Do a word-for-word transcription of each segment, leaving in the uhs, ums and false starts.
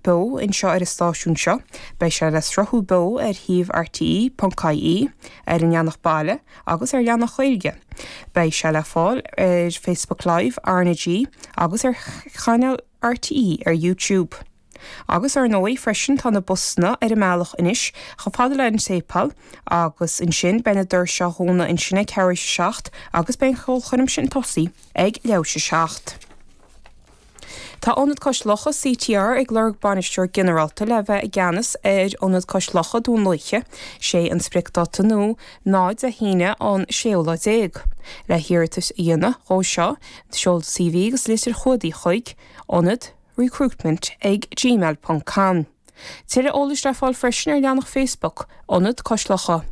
beo anseo ar an stáisiún seo. Beidh sé le sruthú beo ar shuíomh RTÉ ponc ie, ar an leathanach baile agus ar leathanach Gaeilge. Beidh sé le fáil ar Facebook Live RnaG agus ar chainéal RTÉ ar YouTube. Agus ar ndóigh freisin tá na busanna ar a mbealach anois chomh fada le an séipéal agus ansin beidh na doirse á dhúnadh ansin ag ceathrú a seacht agus beidh an cheolchoirm sin tosaí ag leathuair a seacht. Tá Ionad Cois Locha CTR ag lorg bainisteoir ginearálta le bheith i gceannas ar Ionad Cois Locha Dún Lúiche, sé an spriocdháta nua ná Dé hAoine an séú lá déag. Le hiarratas a dhéanamh dhó seo, seol CV agus litir chumhdaigh chuig ionad recruitment ag gmail ponc com. Tuilleadh eolais le fáil freisin ar leathanach Facebook Ionad Cois Locha.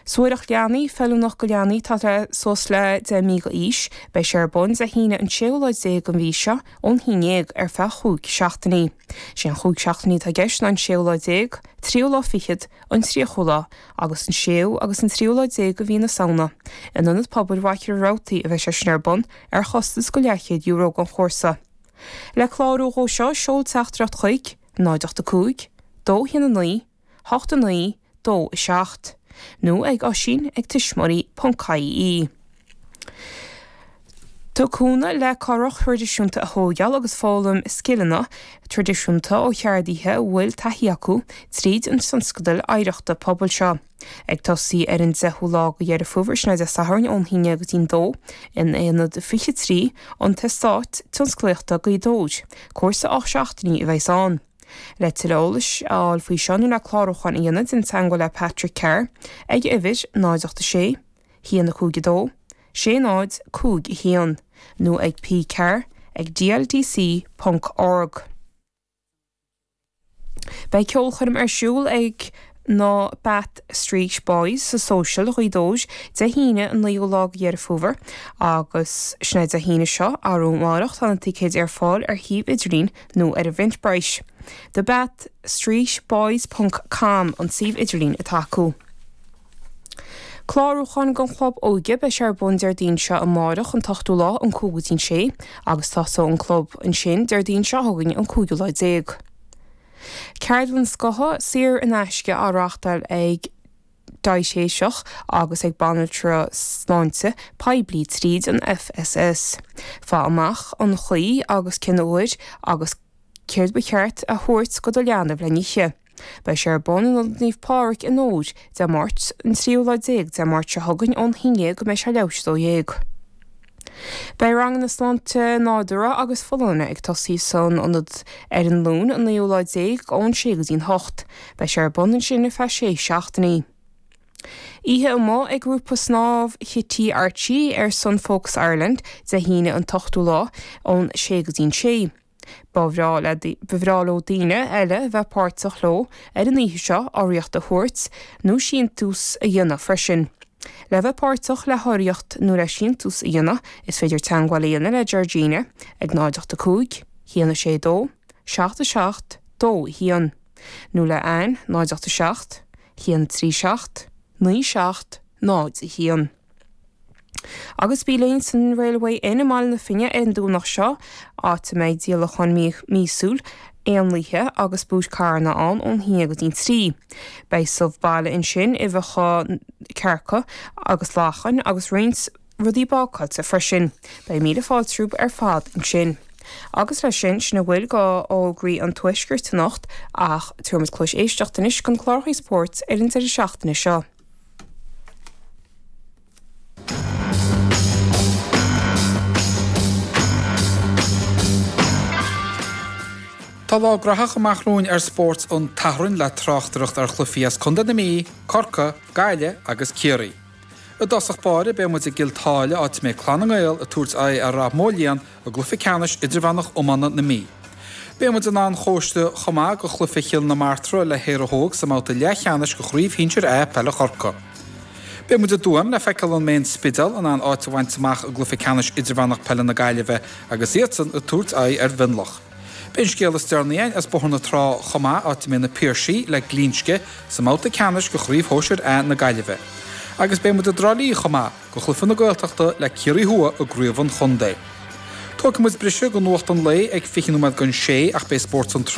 Suathaireacht leanaí, feiliúnach go leanaí atá le suas le deich mí d'aois, beidh sé ar bun Dé hAoine an séú lá déag den mhí seo ón haon déag ar feadh chúig seachtainí. Sé an chúig seachtainí atá i gceist ná an séú lá déag, tríú lá fichead, an tríochú lá agus an séú agus an tríú lá déag de mhí na Samhna. In Ionad Pobail Mhachaire Rabhartaigh a bheidh sé sin ar bun ar chostas go leathchéad euro don chúrsa. Le clárú dhó seo seol teachtaireacht chuig náid ocht a cúig, dó haon a naoi, hocht a naoi, dó a seacht, nó ag oisín ag tuismitheoirí ponc ie. Tá cúnamh le curach thraidisiúnta a thógáil agus foghlaim scileanna traidisiúnta ó cheardaithe a bhfuil taithí acu tríd an tionscadal oidhreachta pobail seo. Ag tosaí ar an deichiú lá de Dheireadh Fómhair, sin é Dé Sathairn ón haon déag go dtí'n dó, in Aonad fiche trí, an tEastát Tionsclaíochta Gaoth Dobhair. Cúrsa ocht seachtainí a bheas ann. Le tuilleadh eolais a fháil faoi seo nó le clárúchán a dhéanamh déan teagmháil le Patrick Carr ag uimhir náid ocht a sé, haon a cúig a dó, sé náid cúig a haon nó ag pcarr ag dldc ponc org. Beidh ceolchoirm ar siúl ag na Bath Street Boys sa Social Ghaoth Dobhair Dé hAoine an naoú lá de Dheireadh Fómhair agus sin é Dé hAoine seo, arú amárach, tá na ticéid ar fáil ar shuíomh idirlín nó ar Eventbrite. The Bath Street Boys ponc com an suíomh idirlín atá acu. Clárúchán don Chlub Óige, beidh sé ar bun Déardaoin seo amárach an t-ochtú lá ón cúig go dtí'n sé agus tosóidh an club ansin Déardaoin seo chugainn an cúigiú lá déag. Ceardlann scotha saor in aisce á reáchtáil ag diaitéiseach agus ag banaltra sláinte poiblí tríd an FSS. Faigh amach an chaoi agus cén uair agus céard ba cheart a thabhairt go do leanbh le n-ithe. Beidh sé ar bun in Ionad Naomh Pádraig i nDobhair Dé Máirt an tríú lá déag Dé Máirt seo chugainn ón haon déag go mbeidh sé leathuair tar éis a dó dhéag. Beidh ranganna sláinte nádúrtha agus folláine ag tosaí san ionad ar an Luan an naoú lá déag ón sé go dtí'n hocht. Beidh sé ar bun ansin ar feadh sé seachtainí. Oíche amuigh ag grúpa snámh Chití Archie ar son Focus Ireland Dé hAoine an t-ochtú lá ón sé go dtí'n sé. Ba bhreá le ba bhreá leo daoine eile a bheith páirteach leo ar an oíche seo, urraíocht a thabhairt nó síntiús a dhéanamh freisin. Le bheith páirteach le hurraíocht nó le síntiús a dhéanamh, is féidir teagmháil a dhéanamh le Georgina ag náid ocht a cúig, haon a sé dó, seacht a seacht, dó a haon, nó le Anne, náid ocht a seacht, haon trí seacht, naoi seacht, náid a haon. Agus bí linn san Railway Inn i mBaile na Finne ar an Domhnach seo, áit a mbeidh díolachán míosúil éanlaithe agus búit carranna ann ón haon go dtí'n trí. Beidh subh baile ansin, uibheacha cearca agus lachain agus roinnt rudaí bácáilte freisin. Beidh míle fáilte romhaibh ar fad ansin. Agus leis sin, sin a bhfuil go fhógraí an Tuaiscirt anocht ach tabharfaimid cluas éisteachta anois don chlár spóirt ar an deireadh seachtaine seo. Tá lá graitheach amach romhainn ar Spórt an tSathairn le tráchtaireacht ar chluichí as Contae na Mí, Corcaigh, Gaillimh agus Ciarraí. I dtosach báire beidh muid i gCill tSáile áit a mbeidh Clann na nGael ag tabhairt aghaidh ar Rath Moliain i gcluiche ceannais idirmheánach iomána na Mí. Beidh muid an Chóiste chomh maith go chluiche Chill na Martra le hÉire Óg sa mbabhta leathcheannais de Chraobh Shinsir A Peile Chorcaí. Beidh muid i dTuaim le feiceáil an mbeidh an Spidéal in ann áit a bhaint amach i gcluiche ceannais idirmheánach peile na Gaillimhe agus iadsan ag tabhairt aghaidh ar Mhionlach. Beidh an scéal is deireanaí againn as Bóthar na Trá chomh maith, áit a mbeidh na Piarsaigh le Glinsce sa mbabhta ceannais de Chraobh Shóisir A na Gaillimhe. Agus beidh muid i dTrá Lí chomh maith go chluiche na Gaeltachta le Ciarraí Thuaidh i gcraobh an chontae. Tógfaidh muid briseadh go nuacht an lae ag fiche nóiméad don sé ach beidh spórt an tráthnóna